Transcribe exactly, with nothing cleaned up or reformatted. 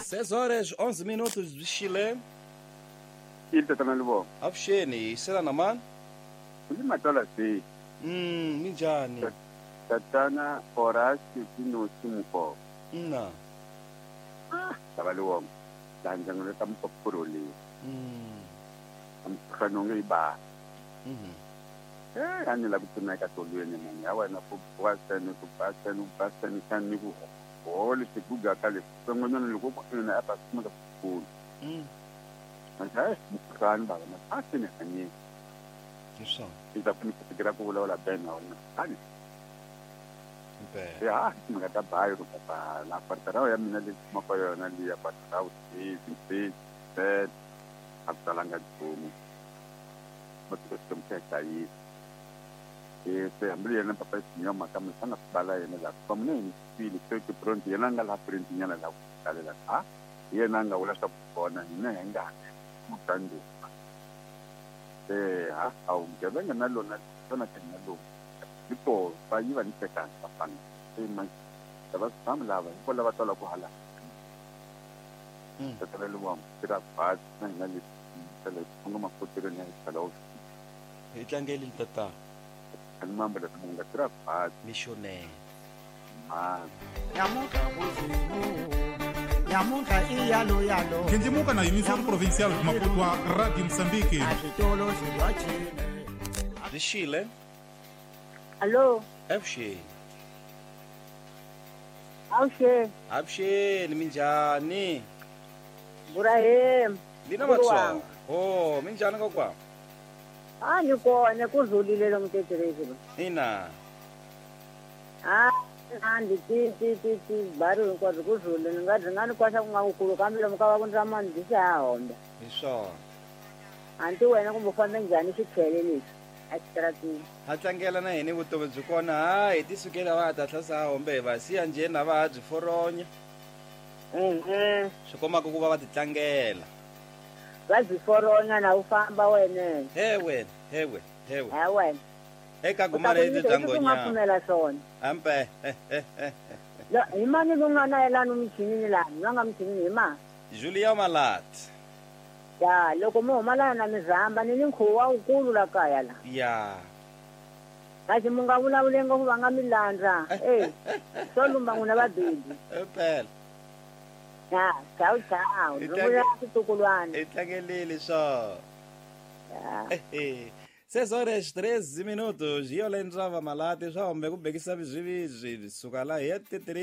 seis horas onze minutos de Chile. Ile lubo. Avuxeni, sela na mani? Ni matola si. Mm, minjhani? Tatana Horacio Pinochi Mukho. Na. Ah, tava lubo. Lanjang le tam popuroli. Mm. Am khanonge ba. Mhm. Eh, ani la kutuna ka tolweni mani. Awa na ku kwasa ni ku pasa ni pasa ni kan ni ku. Ole se kuga kale. Songonyana le ku na apa sima ka ku. Mm. Mas kan ba ma asine hani. Isso. Iza ku ni ku vulavula ben na wena. Ani. Impela. Ya, nga ta bayo ku pa la partara ya mina le ma pa yona li ya partara u ti ti ti atalanga nchumu. Ma ti ko mteka yi. E se ambili yena papa sinya maka msana bala yena la pa mune ni fili ke ke pronto yena nga la print nyana la kalela a yena nga wula swa bona hina hi nga mutandi. Eh ha au ngebenga na lona tona kana lo. Tipo pa yiva ni teka pa pana. E ma tava sam lava ko lava tola ku hala. Mm. Tatala luwa tira pa na na li tele ngo ma kotire ni sala. Hi tlangeli tata. Mambo la munga tira pa missionaire. Ah. Nyamuka buzimu. Nyamuka iyalo yalo. Kendimuka na emissora provincial de Maputo a Rádio Moçambique. De Chile. Alô? Avuxeni. Avuxeni. Avuxeni, minjhani? Burahim. Lina Matsonga. Oh, minjhani kokwa? Ah, ni kona ku zulile lo mteterezi lo. Ina. Ah, andi ti ti ti ti bari hinkwaswo ku zule ni nga nga ni kwasa ku nga kukulu kambe lomu ka va ku ndza mani ndzi ha homba. Hi swona. Anti wena kumbe u fambe njhani xichele lexi exitratini? Ha tlangela na hina vutomi byi kona ha hi ti sukela va ta tlhasa hombe hi va siya njheni va ha byi foronya. Mhm. Swi komaka ku va va ti tlangela. Va byi foronya na u famba wena. He wena, he wena, he wena. He wena. Eka gumana leti bya U nga pfumela swona. Ampe. Lo hi mani ku nga na yelani michinini lani, va nga michinini hi ma? Julia Malat. Ya, loko mo huma lana na mizamba ni ni nkhuvo wa wukulu la kaya la. Ya. Kasi mu nga vulavuli ngopfu va nga mi landza. Eh, swo lumba n'wina vabindi. Impela. Ya, ciao ciao. Hi Ndzi vula switukulwana. Hi tlangelile swo. Ya. Eh. seis horas treze minutos. E eu lembrava malate, já o meu bekisa bizwi suka la yete